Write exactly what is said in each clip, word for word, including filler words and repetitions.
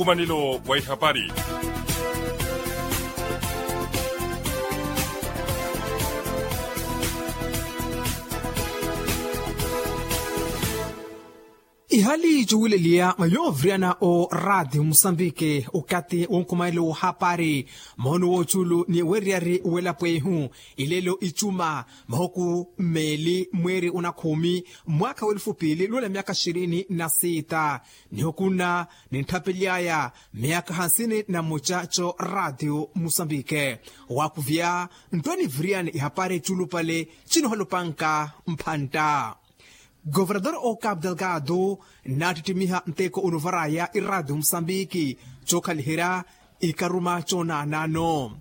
Nkumanelo wa ihapari. Ihali cuwileliya mwa yooviriyana o raatiyo musambiki okathi wonkumanelo w'ohapari, moono w'ocuulu ni weeriyari w'elapo ehu. Ilelo icuma mahuku mmeeli mweeri onakhumi, mwaakha w'elufu piili luwela myaakha xirini na siita. Nihukunna nintthapelyaaya myaakha hansini na muca co raatiyo musambike. Waakuvya nttwe niviriyani ihapari cuulupale cinoohalupanka mphantta. Governador o capu delgado nnaattittimiha nteko onovaraya iraatiyo musambiki cookhaliherya ikaruma coonaanano.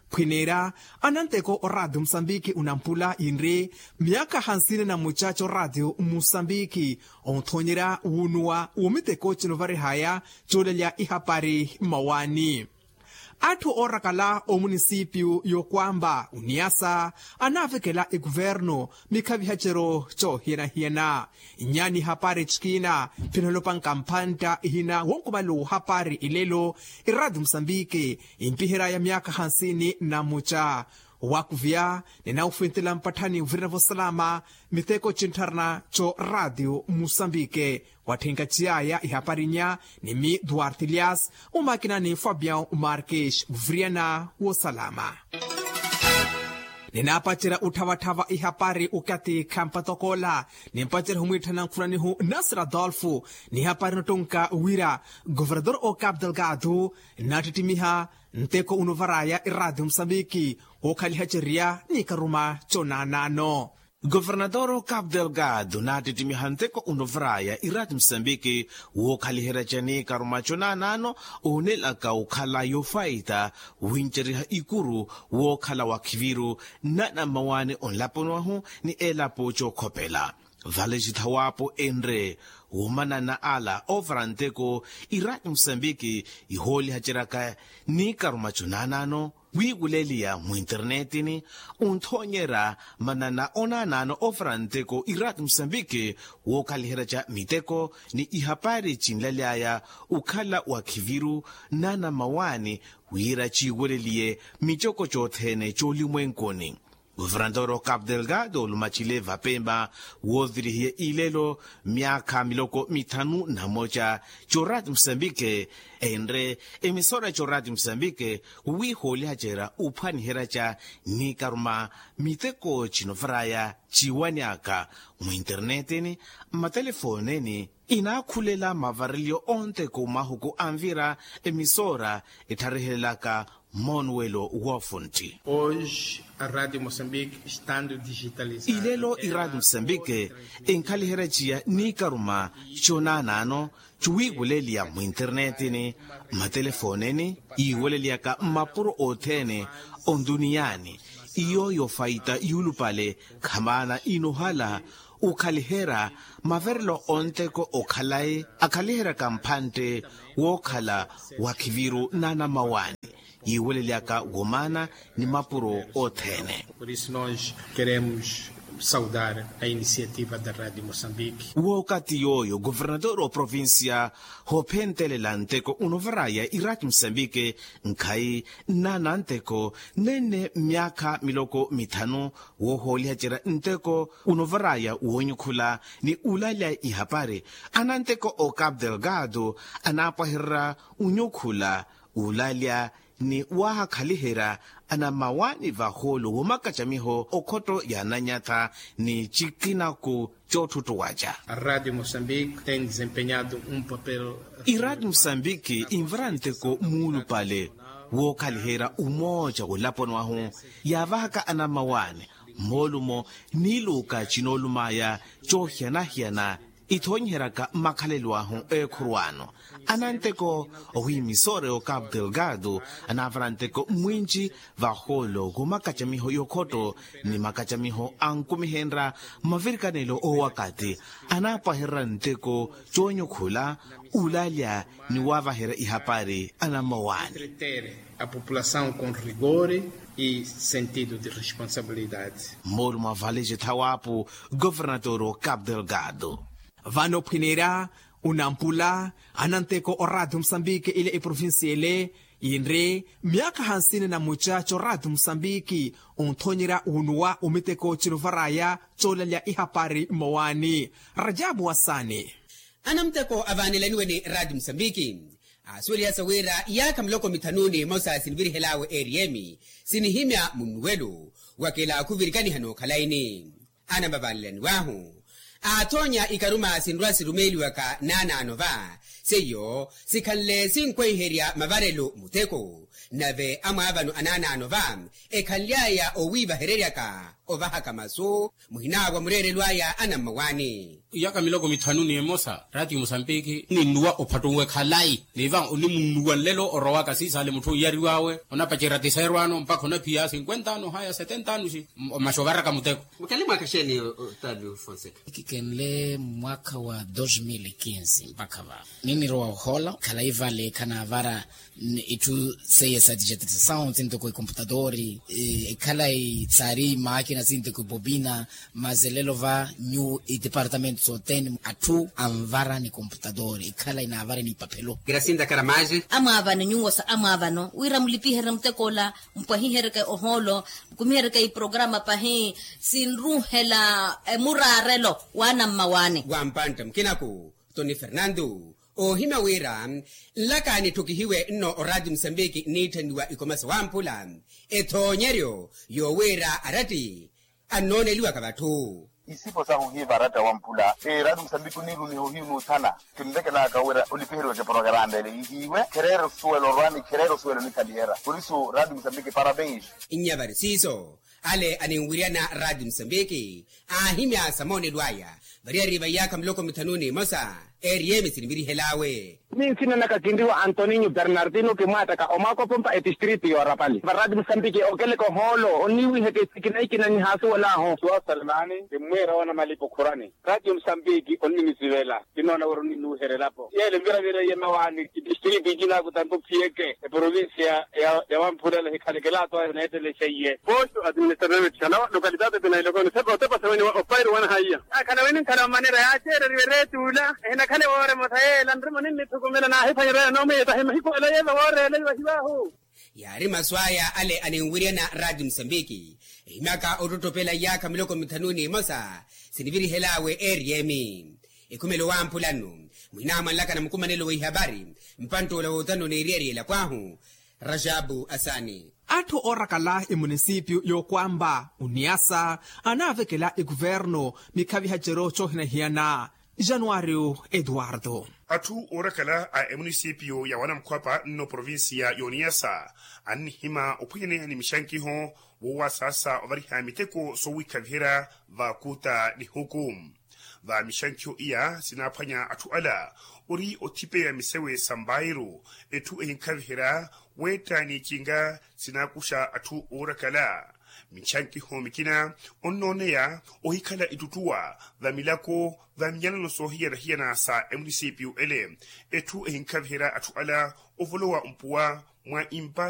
Khwineera ananteko oraatiyo musambiki onampula yinri myaakha hansini na muca c'oraatiyo musambiki onthoonyerya wuunuwa w'omiteko cinovarihaya coolelya ihapari mmawaani. Atthu oorakala omunisipiyu y'okwamba oniyasa anaavekela ekuvernu mikhavihaceryo coohiyana-hiyana. Nyaani hapari cikina phinoolopanka mphantta ihina wonkumale w'ohapari ilelo iraatiyo musambiki impiheryaya myaakha hansini na muca. Waakuvya ninawufwintela mpatthani ovirina vosalama miteko cintharana co raatiyo musambike. Watthinkaciyaya ihapari nya ni mi duarte elias omakinani fabian marques oviriyana wosalama. Ninaapacerya utthavatthava ihapari okathi khampatokoola nimpacerya humwiitthana nkhulanihu nasir adolfo. Nihapari nottonka wira governador o capu delgado nnaattittimiha nteko onovaraya iraatiyo musambiki wookhalihacerya n'ikaruma conaanaano. Governador capu delgado naattittimiha nteko onovaraya iraatiyo musambiki wookhaliherya ca n'ikaruma conaanaano oonelaka okhala yofaita winceriha ikuru wookhala wakhiviru nnanammawaani onlaponi wahu ni elapo cookhopela. Vale cithawaapo enre womanana ala oovara nteko iraatiyo musambiki ihoolihaceryaka n'ikaruma conaanaano wiiwuleliya mwinternettini. Onthoonyerya manana onaanaano oovara nteko iraatiyo musambiki wookhaliherya ca miteko ni ihapari cinlaly'aya okhala wakhiviru nnanammawaani wira ciiweleliye micoko cothene c'olimwenkuni. Governador o capu delgado olumacile vapemba woovirihiye ilelo myaakha miloko mithanu na moca c'oraatiyo musambike enre emisora c'oraatiyo musambike wiihoolihacerya ophwaniherya ca n'ikaruma miteko cinovaraya ciiwanyaka mwinternettini mmatelefoneni. Inaakhulela mavareliyo onteko mahuku anvira emisora ettharihelelaka moonuwelo woofuntti. Hoje a radio moçambique estando digitalizada ilelo iraatiyo musambike enkhaliherya ciya n'ikaruma conaanaano cuwiiweleliya mwinternettini mmatelefoneni yiiweleliyaka mmapuro othene ontuniyaani. Iyo yofaita yuulupale khamaana inohala okhaliherya maverelo onteko okhalayi akhaliheryaka mphantte wookhala wakhiviru nnanammawaani yiiwelelyaka womaana ni mapuro othene. Por isso nós queremos saudar a iniciativa da radio moçambique. Wookathi yooyo governador oprovincia hoophentelela nteko onovaraya iraatiyo musambike nkhayi nnananteko nenne myaakha miloko mithanu woohoolihacerya nteko unovaraya woonyukhula ni ulalya ihapari. Ananteko o capu delgado anaapwahererya unyukhula ulalya ni waahakhaliherya anammawaani vahoolo woomakacamiho okhotto ya ananyatha ni cikinaku cootthutthuwaca. A radio moçambique tem desempenhado um papel iraatiyo musambiki invara nteko muulupale wookhaliherya umooca w'olaponi wahu yaavahaka anammawaani moolumo n'iluuka cinoolumaya coohiyana-hiyana ithoonyiheryaka makhalelo ahu eekhurwaano. Ananteko owiimisoore o capu delgado anaavara nteko mwinci vahoolo khumakacamiho y'okhotto ni makacamiho ankumihenrya mavirikanelo oowakathi anaapwahererya nteko coonyukhula ulalya ni waavaherya ihapari anammawaani. A população com rigor e sentido de responsabilidade. Moolumo a vale cithawaapo governador o capu delgado. Vano ophwineerya Onampula ananteko oraatio musambiki ile eprovincia ile yinri myaakha hansini na muca c'oraatio musambiki, onthonyerya wunuwa omiteko cinuvaraya c'olalya ihapari mmowaani. Rajabu wasani. Anamuteko avaanelaniwe ni raatio musambiki aasuwelihasa wira iyaakha miloko mithanu ni emosa sinivirihel'awe eriyemi sinihimya munnuwelo wa kilaakhu virikaniha n'okhalayi-ni. Anamavaalelaniw'ahu aathonya ikaruma sinrwa-sirumeeliwaka naanaano va seiyo sikhanle sinkweherya mavarelo muteko. Nave amwaavano anaanaano va ekhanly'aya owiivahereryaka ovahaka masu muhinawa mureerelo aya anammawaani. Iyaka miloko mithanu ni emosa raatiyo musambiki ninnuwa ophattuwe khalayi ni va onimunnuwa nlelo orowaka siisale mutthu oyariw'awe onapacerya tiseerwano mpakha onaphiya cinkwenta ano haya setenta ano si. Maxovaraka muteko. Mukele mwaakha xeeni otavio fonseca? Kikenle mwaakha wa dos mil quinze mpakha va ninirowa ohola khalayi vale khanavara itthu seiye sa digitalisasawu sintoko ekomputatori ekhalayi saari maakina sintoko ebobina. Mazelelo va nyu itipartamentu soteni atthu anvara ni komputatori ekhalayi navara ni ipaphelo. Grasinda karamaje. Amwaavano nyuwo sa amwaavano wira mulipiherye muteko ola mpwahiheryeke ohoolo mukumiheryeke iprograma pahi sinruhela emuraarelo waanammawaani. Wampantta mukinaku toni fernandu oohimya wira nlaka nitthukihiwe nno oraati musambiki nniitthaniwa ikomasa wamphula ethoonyeryo yoowiira aratti annooneliwaka vatthu. Isipo sahu hiiva aratta wamphula eraati musambiki oniirumiha ohiyu nuuthana kinlekelaka wira olipiheriweke porokaranta ele ihiiwe khereera osuwela orwani khereera osuwela onikhaliherya korisu raati musambiki parabens. Nnya vari siiso ale aninwiryana raati musambiki aahimya sa moonelo aya variyari va iyaakha miloko mithanu ni emosa eriyemi sinivirihel'awe. Ni nsina naka kinriwa antoninyo bernardino kimwaattaka omwaakopompa etistritu yoorapali varati musambiki okeleka ohoolo oniiwiheke sikinaikina nihaasuwel'ahu. Suwa salimani kimmwiira woona malipo khurani. Ratio musambiki onninisivela kinoona wira onninuuherya elapo yeele nviravira iye mawaani itistritu ikina kutampa ophiyeke eprovincia ya wamphula ela ehikhalekela atwayo neettelexa iye. Posto administrativo de tixanawa lokalitato pinailokoni sepa otepa seweniwa opairu wanahaiya. Akhala wini nkhala omanera yaaceereriwe reetuula ehinakhale wooremotha yeela nrima oninnithukumela naahiphwanyerya yanoomwiyetahi mahiku ela yeeva wooreela iwahiwaahu. Yaari masu aya ale aninwiryana raati musambiki ehimyaka ottottopela iyaakha miloko mithanu ni emosa sinivirihel'awe eriyemi. Ekhumelo wamphula nno muhinaamwanlaka na mukumanelo wa ihapari mpantt'ola wootano n'eriyari elapo ahu. Rajabu asani. Atthu oorakala emunisipyu y'okwampa oniyasa anaavekela ekuvernu mikhavihaceryo coohinahiyana. Januwaariyo etuwarto. Atthu oorakala a emunisipyu ya wanamukhwapa nno provincia y'oniyasa annihima ophwanyaneya ni mixankiho woowasaasa ovariha miteko soowikhaviherya va kuta nihuku. Va mixankiho iya sinaaphwanya atthu ala ori othipeya misewe sa mbairu etthu ehinkhaviherya weetta ni ecinga sinaakuxa atthu oorakala. Mixankiho mikina onnooneya ohikhala ittuttuwa va milako va miyanano soohiyana-hiyana sa emunisipyu ele etthu ehinkhaviherya atthu ala ovolowa mpuwa mwa impasu.